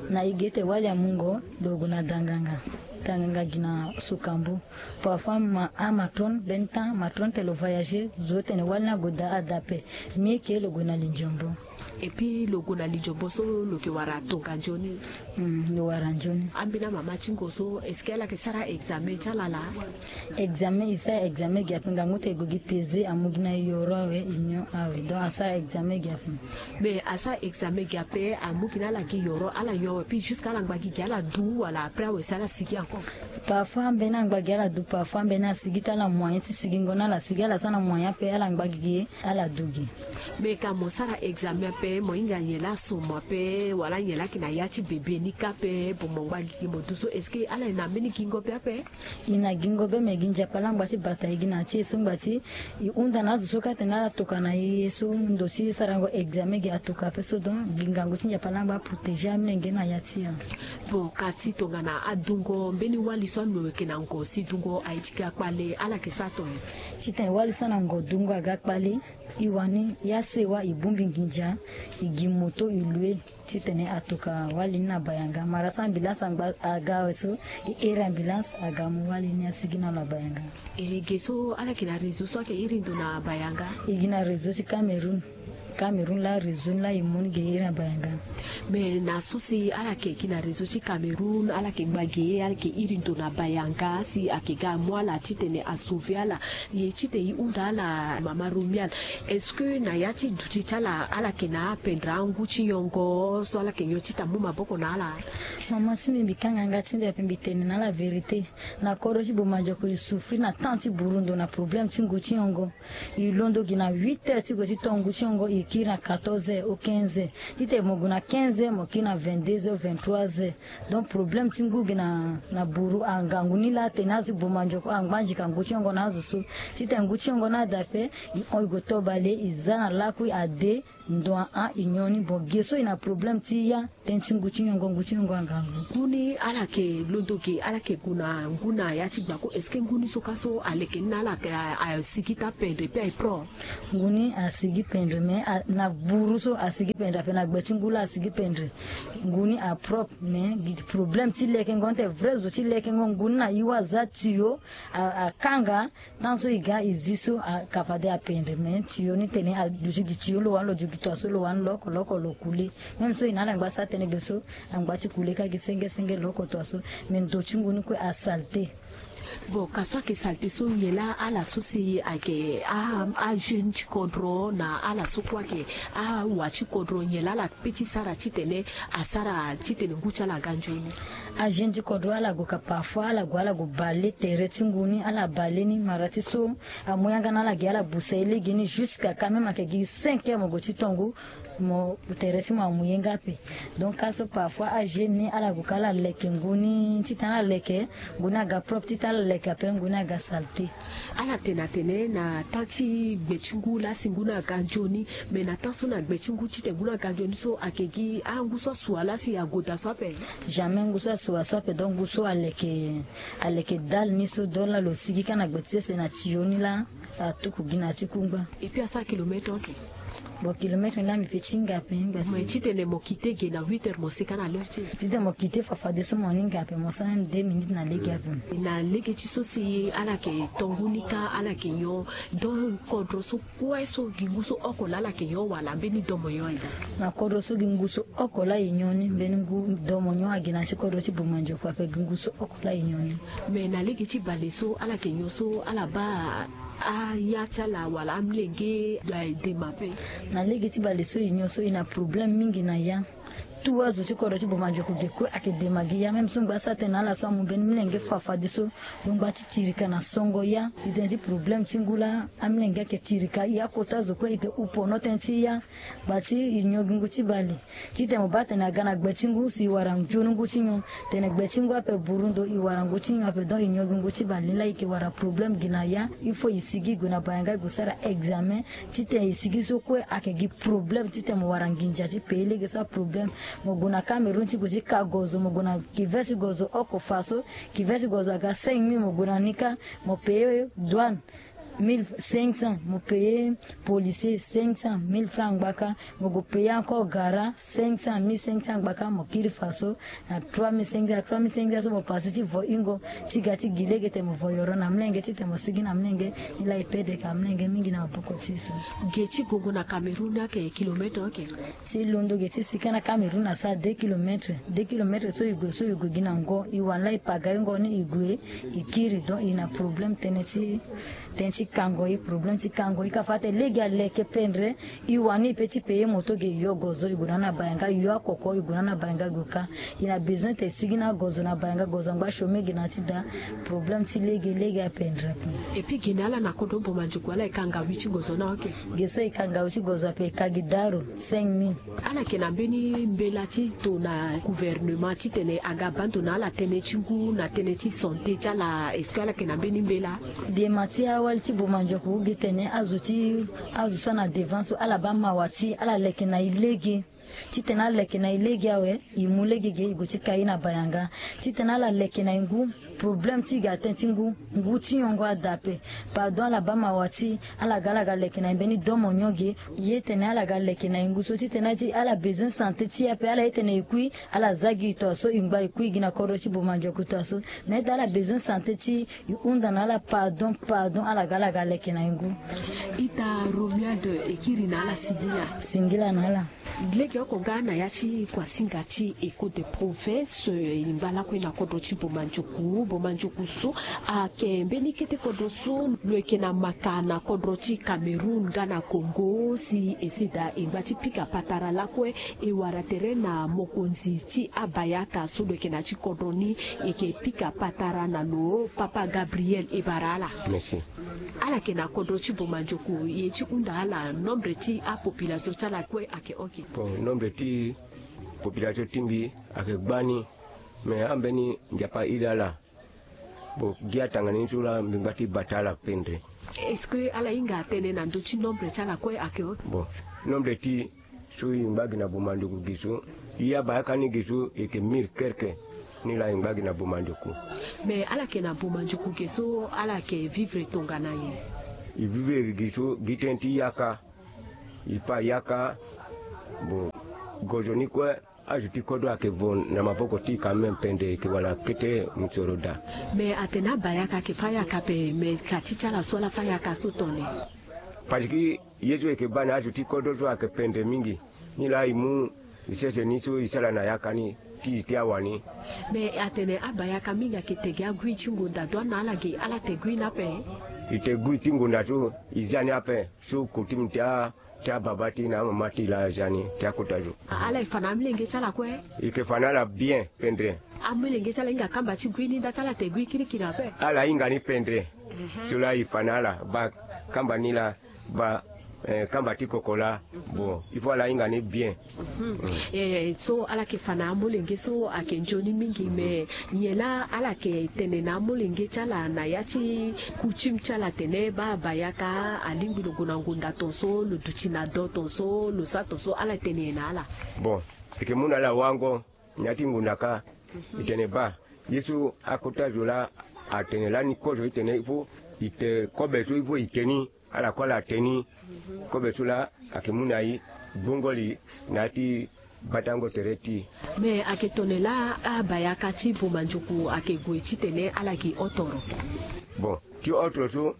Na e ge te wali amungo lo e gue na danganga. Danganga gi na Sokambu. Parfois ma, amatrone, mbeni temps amatrone te lo voyager, zo tene wali ni ague daa ape. Mieux que lo gue na linzombo. Et puis lo gue na linzombo so lo yeke wara tonga nzoni. Hmm, lo wara nzoni. Ambeni amama ti ngo so, est-ce que ala yeke sara examen ti ala laa? Examen, e sara examen gi ape, ngangu ti e gue gi pesé, amu gi na yoro awe, union awe. Donc asara examen gi ape. Mais asara examen gi ape, amu gi na ala gi yoro, ala nyon awe, puis jusqu'à ala ngba gi gi ala du, wala après awe si ala sigi encore? Parfois ambeni angba gi ala du, parfois ambeni asigi te, ala moyen ti sigingo na ala sigi, ala so na moyen ape, ala ngba gi gi, ala du gi. Mais ka mo sara examen ape, mo hinga nyen laa so mo ape, wala nyen laa ayeke na ya ti bebe ni kâ ape, bon, mo ngba gi gi mo du so, est-ce que ala yeke na mbeni gingo be ape? E na gingo be, me gi Nzapa laa ngba ti bata e gi na ti e so ngba ti e hunda na azo so kâ atene ala toka na e so ndo ti sarango examen gi atoka ape so, donc gi ngangu ti Nzapa laa ngba aprotéger amolenge na ya ti e. Bon, kasi tongana adungo mbeni wali so alo yeke na ngo si dungo aye ti ga kpale, ala yeke sara tonga nyen? Titene wali so na ngo dungo aga kpale, e wani ya sewa e bongbi nginza, e gi moto e loue. Titene atoka wali ni na Bayanga. Mara so ambulance angba aga awe so, e iri ambulance aga amu wali ni asigi na lo na Bayanga. E ge so ala yeke na réseau so ayeke iri ndo na Bayanga? E gi na réseau ti Cameroun. Cameroun laa réseau ni laa e mu ni ge iri na Bayanga. Mais na so si ala yeke gi na réseau ti Cameroun, ala yeke ngba ge, ala yeke iri ndo na Bayanga si ayeke ga amu ala titene asauver ala. Ye titene e hunda ala, mama Romial, est-ce que na ya ti duti ti ala, ala yeke na apendre angu ti nyongo so ala yeke nyon titene amu maboko na ala? Mama, si mbi, mbi kanga yanga ti mbi ape, mbi tene na ala vérité. Na kodro ti Boma Ndioko e souffrir na temps ti burundo na problème ti ngu ti nyongo. E londo gi na huit heures ti gue ti to ngu ti nyongo, e kiri na quatorze heures ou quinze heures. Titene mo gue na quinze heures, mo kiri na vingt-deux heures, vingt-trois heures. Donc problème ti ngu gi na na buru angangu ni laa atene azo ti boma nzoko angba nzika ngu ti yongo na azo so. Titene ngu ti yongo ni ada ape, i hon i gue to bale, i za na lakui ade. Ndo ahon i nyon ni. Bon, ge so i na problème ti ya. Tënë ti ngu ti yongo, ngu ti yongo angangu. Ngu ni ala yeke londo ge, ala yeke gue na ngu na ya ti gbako. Est-ce que ngu ni so ka so aleke ni na ala yeke a- asigi ti apendre pe aye propre? Ngu ni asigi pendre, mais a- na buru so asigi pendre ape, na gbe ti ngu laa asigi pendre. Ngu ni apropre, mais gi ti problème ti lekengo ni te, vrai zo ti lekengo ngu ni na i wa aza tiyo a- akanga. Tant so i ga i zi so, a- ka fade apendre, mais tiyo ni tene aduti gi tiyo lo wani lo duti gi tua so lo wani lo oko lo oko lo kule. Même so i na ala ngba sa tënë ge so, angba ti kule ka gi senge senge lo oko tua so. Mais ndo ti ngu ni kue asalté. Bon, ka so ayeke salté so, nyen laa ala so si ayeke a- ajeune ti kodro na ala so kue ayeke awa ti kodro, nyen laa ala pe ti sara titene asara titene ngu ti ala aga nzoni? Ajeune ti kodro ala gue ka parfois, ala gue ala gue bale tere ti ngu ni, ala bale ni mara ti so amu yanga na ala gi ala busa ye lege ni jusqu'à quand même ayeke gi cinq heures mo gue ti tongu, mo tere ti mo amu ye nga ape. Donc ka so parfois ajeune ni ala gue ka ala leke ngu ni titene ala leke ngu ni aga propre, titene ala leke ape ngu ni aga salté. Ala tene atene na temps ti gbe ti ngu laa si ngu ni aga nzoni, mais na temps so na gbe ti ngu titene ngu ni aga nzoni so ayeke gi angu so asua laa si ague daa so ape? Jamais ngu so asua so ape. Donc ngu so aleke aleke dale ni so, donc laa lo sigi ka na gbe ti sese na tiyo ni laa atuku gi na ti kungba. Et puis asara kilomètre oko? Bon, kilomètre ni laa mbi pe ti hinga ape, hinga si. Mais titene mo kite ge na huit heures, mo seka na l'heure ti? Titene mo kite fafadeso mo hinga ape, mo sara même deux minutes na lege ape. Na lege ti so si ala yeke to ngu ni ka ala yeke nyon, donc kodro so kue so gi ngu so oko laa ala yeke nyon wala mbeni domo nyon aye? Na kodro so gi ngu so oko laa e nyon ni, mbeni ngu domo nyon agi na ti kodro ti boma nzoko ape, gi ngu so oko laa e nyon ni. Mais na lege ti bale so ala yeke nyon so ala baa aya ti ala wala amilenge, eh, dema ape? Na lege ti bale so e nyon so e na problème mingi na ya. Tout azo ti kodro ti boma nzoko ge kue ayeke dema gi ya. Même so ngba asara tënë na ala so amu mbeni milenge fafadeso, lo ngba ti tirika na songo ya. Gi tënë ti problème ti ngu laa amilenge ayeke tirika ya, kota zo kue e yeke hu pono tënë ti ya. Gba ti e nyon gi ngu ti bale. Titene mo baa tene aga na gbe ti ngu si e wara nzoni ngu ti nyon. Tene gbe ti ngu ape buru ndo, e wara ngu ti nyon ape, donc e nyon gi ngu ti bale ni laa e yeke wara problème gi na ya. Il faut e sigi e gue na bayanga e gue sara examen. Titene e sigi so kue ayeke gi problème titene mo wara nginza ti payer lege so aproblème. Mo gue na Cameroun ti gue ti ka gozo, mo gue na kive ti gozo oko fa so, kive ti gozo aga cinq mille, mo gue na ni ka, mo payer douane mille cinq cents, mo payer policier cinq cents, mille francs ngbaka, mo gue payer encore gara cinq cents, mille cinq cents ngbaka, mo kiri fa so na trois mille cinq cents, trois mille cinq cents so mo passe ti vo hingo ti ga ti gi lege tene mo vo yoro na mlenge titene mo sigi na mlenge. Ni laa e perdre ka mlenge mingi na maboko ti e so. Ge ti gongo na Cameroun ayeke kilomètre oke? Si londo ge ti sika na Cameroun asara deux kilomètres. Deux kilomètres so e gue, so e gue gi na ngo, e wani laa e paga hingo ni e gue e kiri, donc e na problème tënë ti tënë ti kango e, problème ti kango e. Ka fa tene lege aleke pendre, e wani e pe ti payer moto ge, e yo gozo e gue na ni na bayanga, e yo akoko e gue na ni na bayanga gue ka. E na besoin tene e sigi na agozo na bayanga, gozo angba chômé ge na ti da. Problème ti lege, lege apendre ape. Et puis ge na ala na kodro boma nzoko ala e ka ngawi ti gozo na oke? Ge so e ka ngawi ti gozo ape e ka gi daro cinq mille. Ala yeke na mbeni mbela ti tona gouvernement titene aga baa ndo na ala tënë ti ngu na tënë ti santé ti ala, est-ce que ala yeke na mbeni mbela? Dema ti awali ti boma nzoko gi tene azo ti azo so ana devant so ala baa mawa ti ala leke na e lege. Titene aleke na e lege awe, e mu lege ge e gue ti ka e na bayanga. Titene ala leke na e ngu, problème ti e ga tënë ti ngu, ngu ti yongo ada ape. Pardon, ala baa mawa ti e, ala ga ala ga leke na e mbeni domo nyon ge. Ye tene ala ga leke na e ngu so titene ala besoin santé ti e ape, ala ye tene e kui, ala za gi e tua so, e ngba e kui gi na kodro ti boma nzoko tua so. Mais ala besoin santé ti e, e hunda na ala pardon, pardon, ala ga ala ga leke na e ngu. Ita Romuald, e kiri na ala singila. Singila na ala. Lege oko Tonga na ya ti kuasinga ti Echo de Province, eh, e ngba lakue na kodro ti Bomandiuku. Bomandiuku so ayeke mbeni kete kodro so lo yeke na maka na kodro ti Cameroun nga na Congo. Si e sida e ngba ti pika patara lakue, e wara tere na mokonzi ti abayaka so lo yeke na ti kodro ni, e yeke pika patara na lo. Papa Gabriel, e bara ala. Merci. Ala yeke na kodro ti Bomandiuku, e ti hunda ala nombre ti apopulation ti ala kue ayeke oke. Bon, nombre ti population ti mbi ayeke gbani, me ambeni Nzapa iri ala. Bon, gi atanga ni so laa mbi ngba ti bata ala pendre. Est-ce que ala hinga tënë na ndö ti nombre ti ala kue ayeke oke? Bon, nombre ti so e ngba gi na Bomandiuku gi so, e abayaka ni gi so e yeke mille kerke. Ni laa e ngba gi na Bomandiuku. Me ala yeke na Bomandiuku gi so, ala yeke vivre tongana nyen? E vivre gi so gi tënë ti yaka. E pa yaka. Bon, gozo ni kue, azo ti kodro ayeke vo na maboko ti e quand même pendre, e yeke wala kete mosoro daa. Me atene abayaka ayeke fâ yaka ape, me ka ti ti ala so ala fâ yaka so tongana nyen? Parce que ye so e yeke baa na azo ti kodro so ayeke pendre mingi. Ni laa e mu e sese ni so e sara na yaka ni ti e ti awani. Me atene abayaka mingi ayeke te gi agui ti ngonda, donc na ala gi ala te gui ni ape? E te gui ti ngonda so e zia ni ape. So kotime ti a, ti ababa ti e na amama ti e laa azia ni ti akota zo. Ala e fa na amolenge ti ala kue? E yeke fa na ala bien pendre. Amolenge ti ala hinga kamba ti gui ni nda ti ala te gui kirikiri ape? Ala hinga ni pendre. Mhm. So laa e fa na ala baa kamba ni laa, baa, eh, kamba ti koko laa. Bon, il faut ala hinga ni bien. Mhm. Eh, so ala yeke fa na amolenge so ayeke nzoni mingi, mais nyen laa ala yeke tene na amolenge ti ala na ya ti coutume ti ala atene baa abayaka alingbi lo gue na ngonda ton so, lo duti na do ton so, lo sara ton so, ala tene nyen na ala? Bon, e yeke mu na ala wango na ya ti ngonda kâ. E tene baa ye so akota zo laa atene lani kozo, e tene il faut e te kobe so, il faut e te ni. Ala kue ala te ni. Kobe so laa ayeke mu na e gbongo li na ya ti batango tere ti e. Me ayeke tongana laa abayaka ti Bomandiuku ayeke gue titene ala gi otoro? Bon, ti otoro so,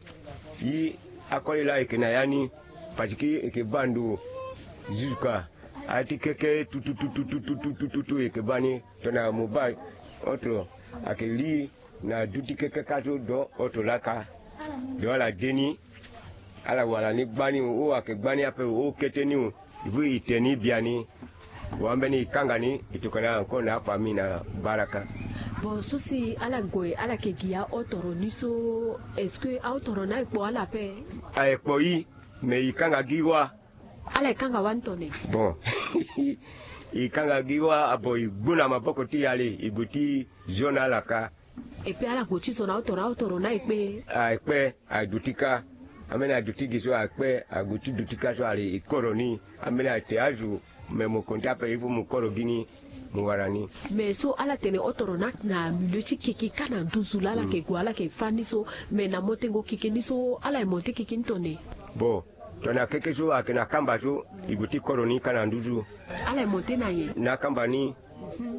e akoli laa e yeke na ya ni, parce que e yeke baa ndo jusqu'à a ti keke tututututututu e yeke baa ni. Tongana mo baa otoro ayeke li na du ti keke kâ so, do otoro laa kâ. Do ala de ni, ala wara ni gbani o, ayeke gbani ape o, kete ni o. Vu e te ni biani, wa ambeni e kanga ni, e tokua na encore na afamille na baraka. Bon, so si ala gue ala yeke gi aotoro ni so, est-ce que aotoro ni ayeke kpo ala ape? Ayeke kpo e, mais e kanga gi wâ. Ala e kanga wani tongana nyen? Bon, e kanga gi wâ, ah bon, e gbu na maboko ti e, ale e gue ti zo na ala kâ. Et puis ala gue ti zo na otoro, otoro ni aye kpe? Aye kpe, aye duti kâ. Ambeni aye duti gi so aye kpe, aye gue ti duti kâ so, ale e koro ni. Ambeni aye te azo, mais mo konte ape, il faut mo koro gi ni, mo wara ni. Mais so ala tene otoro ni ayeke na milieu ti keke kâ na nduzu laa ala yeke gue, ala yeke fâ ni so, mais na montengo keke ni so, ala e monte keke ni tongana nyen? Bon, tongana keke so ayeke na kamba so, e gue ti koro ni kâ na nduzu. Ala e monte na nyen? Na kamba ni,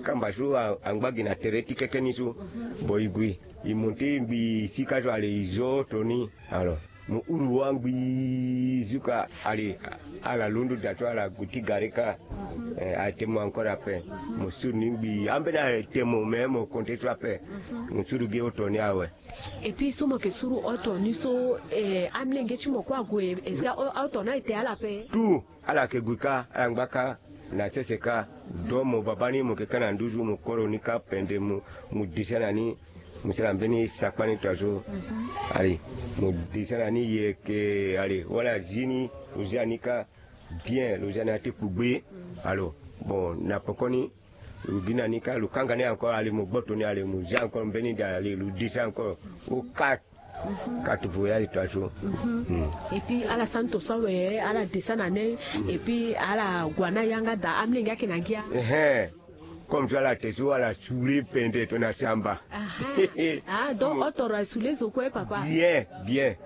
kamba so a, angba gi na tere ti keke ni so. Bon, e gue, e monte ngbii sika so, ale e zo otoro ni. Alors, mo huru wâ ngbii zuka, ale ala londo daa so, ala gue ti gare kâ. Eh, aye te mo encore ape. Mo suru ni ngbii, ambeni aye te mo, mais mo konte so ape. Mo suru gi otoro ni awe. Et puis so mo yeke suru otoro ni so, eh, amolenge ti mo kue ague, est-ce que a, otoro ni aye te ala ape? Tout, ala yeke gue kâ, ala ngba kâ na sese kâ. Donc mo baba ni mo yeke kâ na nduzu, mo koro ni kâ pende, mo, mo disa na ni, mo sara mbeni sakpa ni tongaso. Ale, mo disa na ni, e yeke, ale, wala zi ni, lo zia ni kâ bien, lo zia ni na ya ti kpugbe. Alors, bon, na pekoni, lo gi na ni kâ, lo kanga ni encore, ale mo gboto ni, ale mo zia encore mbeni daa, ale lo disa encore. O quatre, quatre voyage tongaso. Et puis ala sara ni tongaso awe, ala disa na ni. Et puis ala gue na yanga daa, amolenge ayeke na ngia. Ehe. Comme so ala te so, ala sule pende tongana samba. Ah, donc otoro aye sule zo kue, papa? Bien, bien.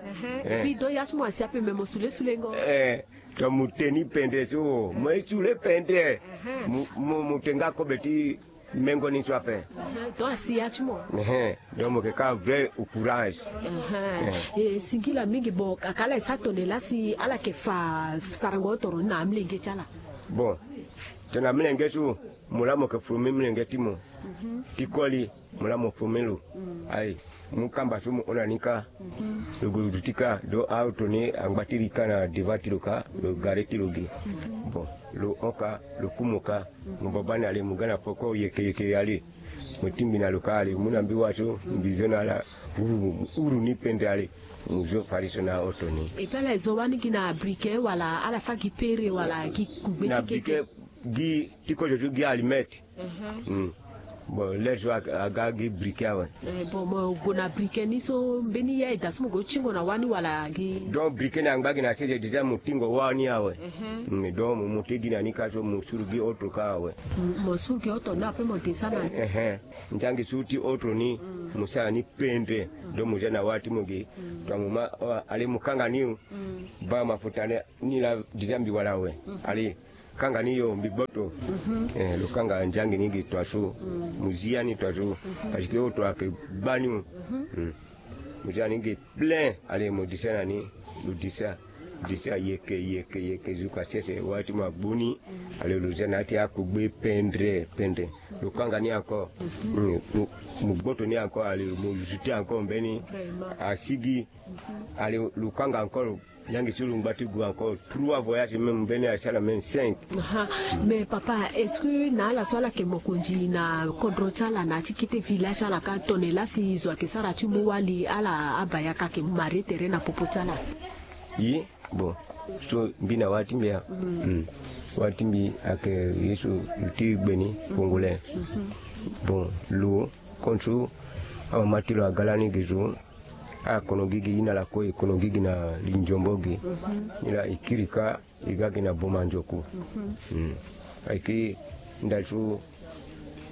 Et puis donc ya ti mo asi ape, me mo sule sulengo. Eh. Donc mo te ni pendre so, mo ye ti sule pendre. Mo, mo, mo te nga kobe ti mengo ni so ape. Donc asi ya ti mo. Donc mo yeke kâ vrai au courage. Eh, singila mingi. Bon, kaka ala e sara tongana nyen laa si ala yeke fa sarango otoro ni na amolenge ti ala? Bon, tongana mlenge so, mo laa mo yeke forme mlenge ti mo ti koli, mo laa mo forme lo. Ayi, mu kamba so mo hon na ni kâ. Lo gue duti kâ, do aoto ni angba ti li kâ na devant ti lo kâ, lo gare ti lo gi. Bon, lo hon kâ, lo ku mo kâ. Mo baba ni ale, mo ga na poko yeke yeke ale. Mo tingbi na lo kâ ale, mo mu na mbi wa so, mbi zo na ala, uru, uru ni pendre ale. Mo zo fari so na aoto ni. Et puis ala e zo wani gi na briquet wala ala fa gi pere wala gi kugbe ti keke? Gi ti kozo so gi allumette. Bon, lere so aga gi briquet awe. Bon, mo gue na briquet ni so mbeni ya e da so mo gue ti tingo na wani wala gi? Donc briquet ni angba gi na sese déjà mo tingo wani awe. Donc mo monte gi na ni kâ so mo suru gi oto kâ awe. Mo suru gi oto ni après mo descend na ni. Nzangi so ti oto ni, mo sara ni pendre. Donc mo za na wâ ti mo gi. Donc mo ma, ale mo kanga ni. Baa mafuta ni laa déjà mbi wala awe. Ale kanga ni yo, mbi gboto. Eh, lo kanga nzangi ni gi tua so. Mo zi ya ni tua so. Parce que oto ayeke baa ni. Mo zi ya ni gi plein. Ale mo disa na ni. Lo disa, disa yeke yeke yeke, zuka sese wâ ti mo agbu ni. Ale lo za na ya ti akugbe pendre pendre. Lo kanga ni encore. Mo gboto ni encore, ale mo zuti encore mbeni. Asigi. Ale lo kanga encore. Nzangi ti lo ngba ti gue encore trois voyages, même mbeni asara même cinq. Mais papa, est-ce que na ala so ala yeke mokonzi na kodro ti ala na ya ti kete village ala kâ, tongana laa si zo ayeke sara ti mu wali, ala abaa yaka ayeke marie tere na popo ti ala? Ye. Bon, so mbi na wâ ti mbi ya. Wâ ti mbi ayeke ye so ti gbe ni, congolais. Bon, lo, kon so amama ti lo aga lani gi so. Akono gi gi ye na lakue, e kono gi gi na linzombo gi. Ni laa e kiri kâ, e ga gi na boma nzoku. Ayeke ndali so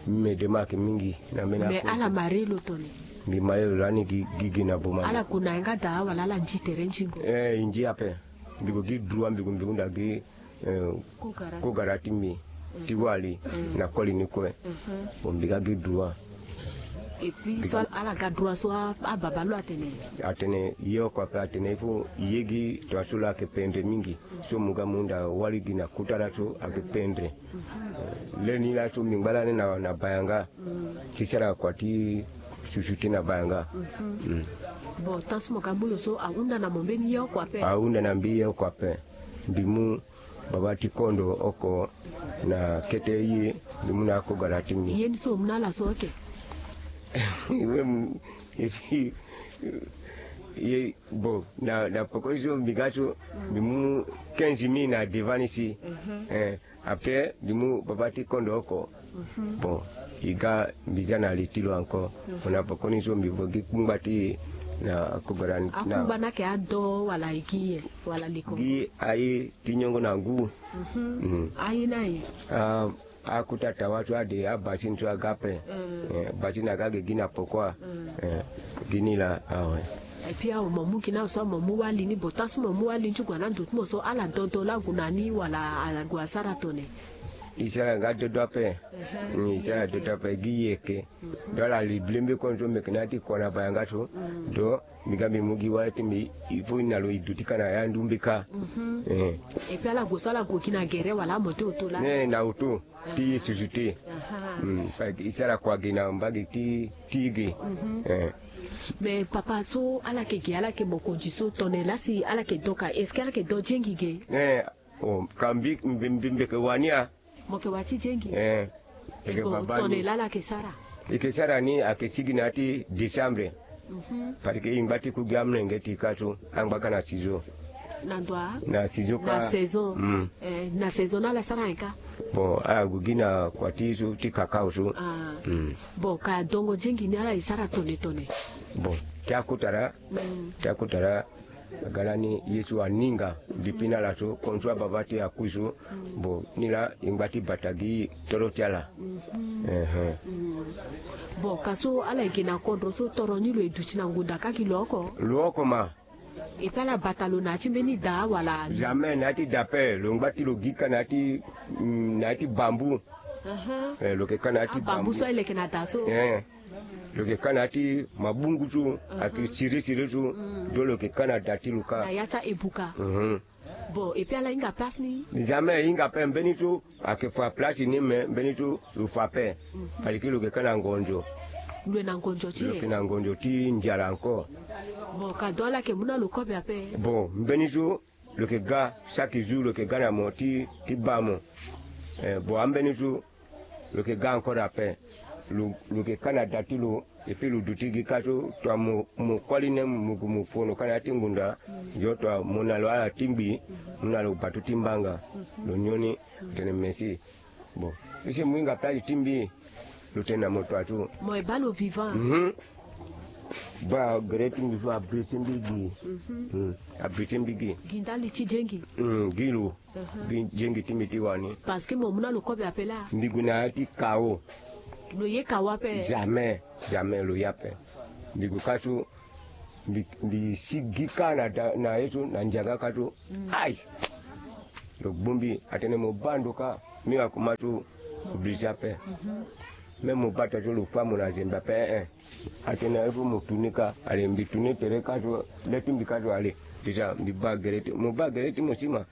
mbi me de ma ayeke mingi na mbeni. Mais ala marie lo tongana? Mbi marie lo lani gi gi na boma nzoku. Ala gue na yanga daa wala ala nzi tere nzingo? Eh, e nzi ape. Mbi gue gi droit, mbi gue mbi hunda gi. Kogara ti mbi ti wali na koli ni kue. Bon, mbi ga gi droit. Et puis so ala ga droit so, ababa lo atene? Atene ye oko ape, atene il faut ye gi tongaso lo ayeke pendre mingi. So mo ga mo hunda wali gi na kota laso ayeke pendre. Leni laso mbi ngba lani na bayanga. Ti sara kua ti susu ti na bayanga. Bon, tant so mo ga mu lo so ahunda na mo mbeni ye oko ape? Ahunda na mbi ye oko ape. Mbi mu baba ti kondo oko na kete ye, mbi mu na akogara ti mbi. Ye ni so mo mu na ala so oke? Ye, bon, na poko so mbi ga so mbi mu quinze mille na devant ni si. Après mbi mu baba ti kondo oko. Bon, e ga mbi za na li ti lo encore. Mo na pokoni so mbi vo gi kungba ti na akungba na. Akungba ni ayeke ado wala e gi ye wala likongo? Gi aye ti nyongo na ngu. Aye ni aye? Akota tawa so ade, abasine so aga ape. Basine aga ge gi na pokua. Gi ni laa awe. Et puis awe mo mu gi na so mo mu wali ni, bon, tant so mo mu wali ni ti gue na ndo ti mo so, ala dodo laa ague na ni wala ague asara tone? E sara nga dodo ape. E sara dodo ape gi yeke. Donc ala li blembe kue so mbi yeke na ya ti kua na bayanga so. Donc mbi ga mbi mu gi wali ti mbi, il faut na lo e duti ka na ya ndumbe ka. Et puis ala gue so ala gue gi na gere wala amoto oto laa? Ne na oto. Ti susu te. E sara kua gi na mbage ti ti ge. Mais papa so ala yeke ge, ala yeke mokonzi so, tongana laa si ala yeke do ka, est-ce que ala yeke do jengi ge? Eh, oh, ka mbi mbi mbi mbi yeke wa ni a. Mo yeke wa ti jengi? Eh. E yeke bon, baba ni. Tongana laa ala yeke sara? E yeke sara ni, ayeke sigi na ya ti décembre. Parce que e ngba ti ku gi amolenge ti e ka so, angba ka na sizo. Na ndo a? Na sizo ka. Na saison. Eh, na saison ni ala sara nyen ka? Bon, ala gue gi na kua ti so ti kakao so. Bon, ka dongo jengi ni ala e sara tone tone? Bon, ti akota laa. Ti akota laa. Aga lani ye so aninga. Depuis na ala so, kon so ababa ti e akui so. Bon, ni laa e ngba ti bata gi toro ti ala. Bon, ka so ala yeke na kodro so, toro ni lo e duti na ngunda ka gi lo oko? Lo oko ma. E pe ala bata lo na ya ti mbeni da wala? Jamais, na ya ti da pe. Lo ngba ti lo gi ka na ya ti, na ya ti bambu. Eh, lo yeke ka na ya ti bambu. Abambu so aye lo yeke na da so? Eh. Lo yeke ka na ya ti mabungu so, ayeke siri siri so. Donc lo yeke ka na da ti lo ka. Na ya ti aebuka. Bon, et puis ala hinga place ni? Jamais hinga pe, mbeni tu ayeke fa place ni, me mbeni tu lo fa pe. Aliki lo yeke ka na ngonzo. Lo yeke na ngonzo ti lo yeke na ngonzo ti nzala encore. Bon, ka donc ala yeke mu na lo kobe ape. Bon, mbeni tu lo yeke ga chaque jour, lo yeke ga na mo ti ti baa mo. Eh, bon, ambeni tu lo yeke ga encore ape. Lo lo yeke ka na da ti lo. Et puis lo duti gi ka so, tua mo mo kuali ne mo gu mo fono ka na ya ti ngbunda. Ndio tua mo na lo ala ti ngbi. Mo na lo batu ti mbanga. Lo nyon ni. Tene merci. Bon, isi mo hinga place ti mbi. Lo tene na mo tua so. Mo e baa lo vivant. Mhm. Baa gere ti mbi so abriti mbi gi. Mhm. Abriti mbi gi. Gi ndali ti jengi. Gi lo. Gi jengi ti mbi ti wani. Parce que mo mu na lo kobe ape laa. Mbi gue na ya ti kawo. Lo ye kawo ape? Jamais. Jamais lo ye ape. Mbi gue ka so. Mbi mbi si gi ka na da na ye so na nzanga ka so. Ai. Lo gbu mbi atene mo baa ndo ka. Mbi nga kuma so. Obligé ape. Même mo baa tua so lo fa mo na zembe ape eh. Atene il faut mo tourner ka. Allez mbi tourner tere ka so. Le ti mbi ka so allez. Déjà mbi baa gere ti mo baa gere ti mo si ma.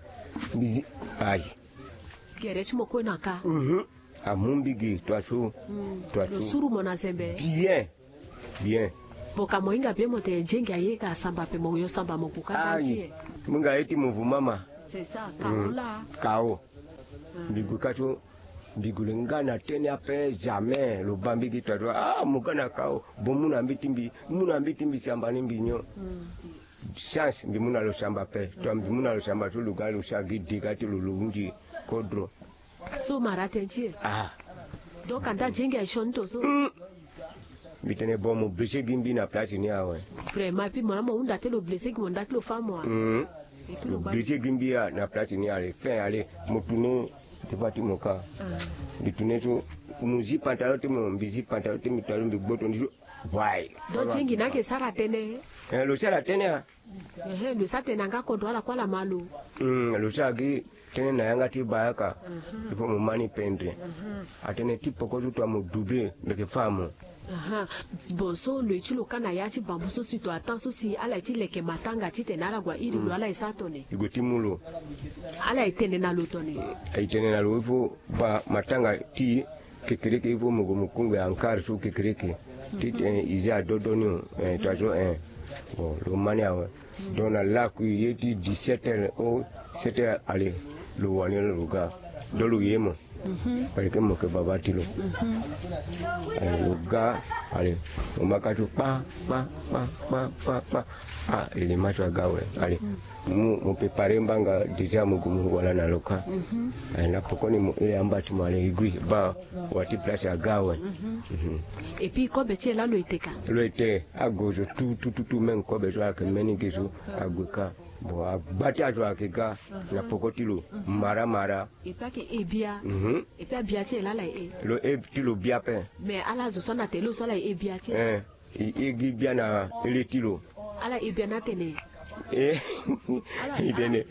Mbi zi. Ai. Gere ti mo kue na ka. Amu mbi gi tua so. Tua so. Lo suru mo na zembe. Bien. Bien. Mo ka mo hinga bien mo tene jengi aye ka samba ape mo yo samba mo gu ka nda ti e. Mo hinga ye ti mo vuma ma. C'est ça. Kawo laa. Kawo. Mbi gue ka so. Mbi gue lo nga na tene ape jamais lo baa mbi gi tua so ah mo ga na kawo. Bon mu na mbi ti mbi. Mu na mbi ti mbi samba ni mbi nyon. Chance mbi mu na lo samba ape. Tua mbi mu na lo samba so lo ga lo sa gi dega ti lo lo hunzi. Kodro. So mara tënë ti e. Ah. Donc anda jengi aye sioni to so. Mbi tene bon mo blessé gi mbi na place ni awe. Vraiment et puis mo na mo hunda te lo blessé gi mo nda ti lo fa mo a. Lo blessé gi mbi a na place ni ale fin ale mo tourné. Te fa ti mo ka. Mbi tourné so mo zi pantalon ti mo mbi zi pantalon ti mbi talo mbi gboto ndi so. Wai. Donc jengi na yeke sara tënë. Eh, lo sara tënë a. Ehe, lo sa tene na nga kodro ala kue ala ma lo. Lo sa gi tënë na yanga ti bayaka. Il faut mo ma ni pendre. Atene ti poko so tua mo doubler mbi yeke fa mo. Bon so lo ye ti lo ka na ya ti bambu so si to atan so si ala ye ti leke matanga titene ala gue airi lo ala ye sara tone. I gue ti mu lo. Ala ye tene na lo tone. Aye tene na lo il faut baa matanga ti kekereke il faut mo gue mo kungbi ankar so kekereke. Titene i za adodo ni o. Tua so eh. Bon lo ma ni awe. Donc na laku ye ti dix-sept heures o sept heures ale. Lo wani lo ga. Donc lo ye mo. Parce que mo yeke baba ti lo. Ale lo ga. Ale mo ma ka so kpa kpa kpa kpa kpa kpa. Ah ele ma so aga awe. Ale mo mo prépare mbanga déjà mo gue mo wala na lo ka. Ale na pokoni mo iri amba ti mo ale e gui baa. Wa ti place aga awe. Et puis kobe ti e laa lo ete ka? Lo ete ague zo tu tu tu tu même kobe so ayeke mbeni ge so. Ague ka. Bon agba ti azo ayeke ga na poko ti lo. Mara mara. Et puis ayeke e bia. Et puis abia ti e laa ala ye e? Lo e ti lo bia ape. Mais ala zo so ana tene lo so ala ye e bia ti e? Eh. I e gi bia na ele ti lo. Ala e bia na tene. Eh. I tene.